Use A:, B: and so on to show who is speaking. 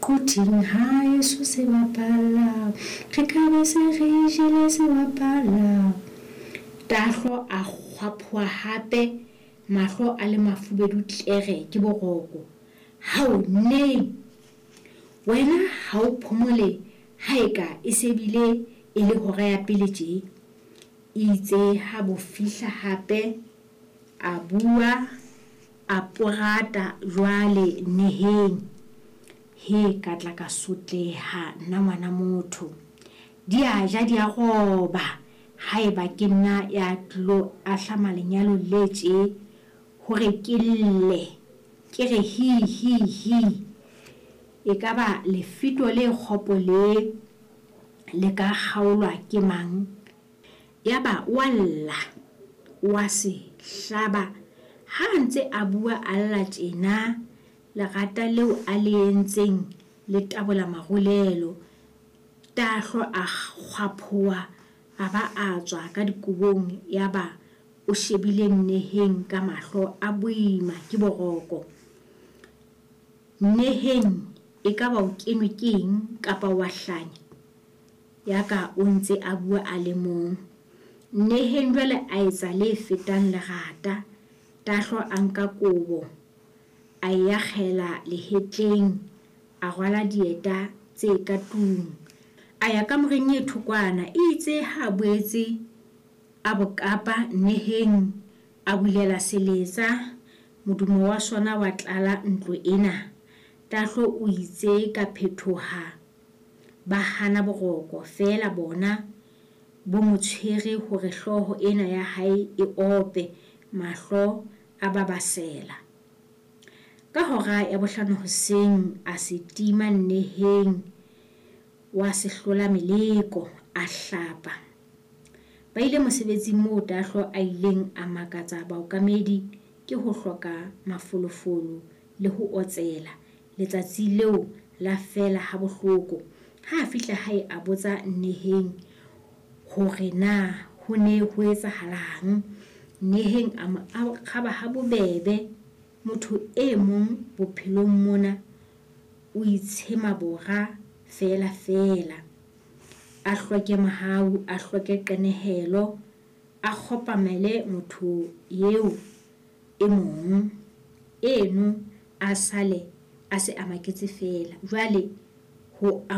A: Quthing haeso se bapala, re ka be se re jele se bapala. Tahlo a kgwaphoha hape, mahlo a le mafubedu tlere ke boroko. Hao neng! Wena ha o phomole ha eka e se bile e le hora ya pele tje? Eitse ha bo fihla hape a bua a porata jwale neheng. He ka tla ka sotleha nna ngwana motho. Di a ja di a roba haeba ke nna ya tlilo ahlama lenyalo le tje hore ke lle ke re hi hi hi. Ekaba lefito le kgopo le le ka kgaolwa ke mang? Yaba o a lla, o a se hlaba. Ha a ntse a bua a lla tjena, lerata leo a le entseng le tabola marulelo. Tahlo a kgwaphoha a ba a tswa ka dikobong yaba o shebile Nneheng ka mahlo a boima ke boroko. Nneheng ekaba o kenwe ke eng kapa wa hlanya? Yaka o ntse a bua a le mong. Nneheng jwale a etsa le fetang lerata. Tahlo a nka kobo, a e akgela lehetleng, a rwala dieta tse ka tlung. A ya kamoreng e thokwana. Eitse ha a boetse a bo kapa, Nneheng a bulela seletsa, modumo wa sona wa tlala ntlo ena. Tahlo o itse ka phethoha ba hana boroko, feela bona bo mo tshwere hore hlooho ena ya hae e ope, mahlo a babasela. Ka hora ya bohlano hoseng a se tima Nneheng wa sehlola meleko, a hlapa. Ba ile mosebetsing moo Tahlo a ileng a makatsa baokamedi ke ho hloka mafolofolo le ho otsela. Letsatsi leo la fela ha bohloko. Ha a fihla hae a botsa Nneheng hore na ho ne ho etsahalang. Nneheng a mo araba ha bobebe. Motho e mong bophelong mona o itshema bora feela feela. A hloke mohau, a hloke qenehelo, a kgopamele motho eo e mong. Eno a sale a se a maketse feela. Jwale ho.